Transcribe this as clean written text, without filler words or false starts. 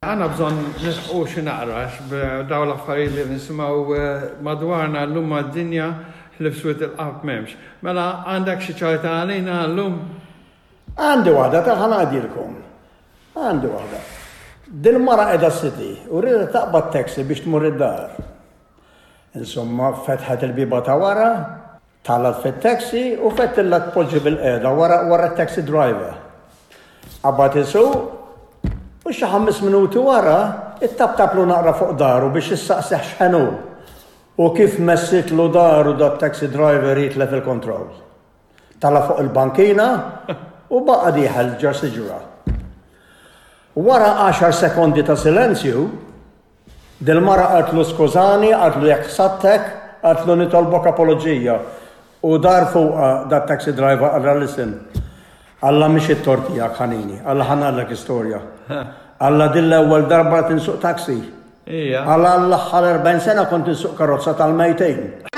Għandna bżonn nisħqu xi naqra għax b'dawn l-affarijiet li nisimgħu madwarna llum mad-dinja ħlief swied il-qalb m'hemmx. Mela għandek xi ċajta għalina llum? Għandi waħda ta' ħa ngħidilkom. Għandi waħda. Dil-mara qiegħda s-city u riedet taqbad taxi biex tmur id-dar. Insomma, fetħet il-bieba ta' wara, Telgħet fit-taxi u fettillha tpoġġi bilqiegħda wara wara t-taxi driver. Qabad isuq u xi ħames minuti wara ittaptaplu naqra fuq daru biex issaqsih x'ħen hu. U kif messitlu daru dat-taxi driver jitlef il-kontroll. Tala' fuq il-bankina u baqa' dieħel ġo siġra. Wara għaxar sekondi ta' silenzju, Dil-mara qaltlu skużani, qaltlu jekk ħsadtek, qaltlu nitolbok apoloġija. U dar fuqha dat-taxi driver qalha listen, qallha mhix it-tort tiegħek ħanini, qallha ħa ngħidlek istorja. Qallha din l-ewwel darba qed insuq taxi. Qallha għall-aħħar 40 sena kont insuq karozza tal-mejtin.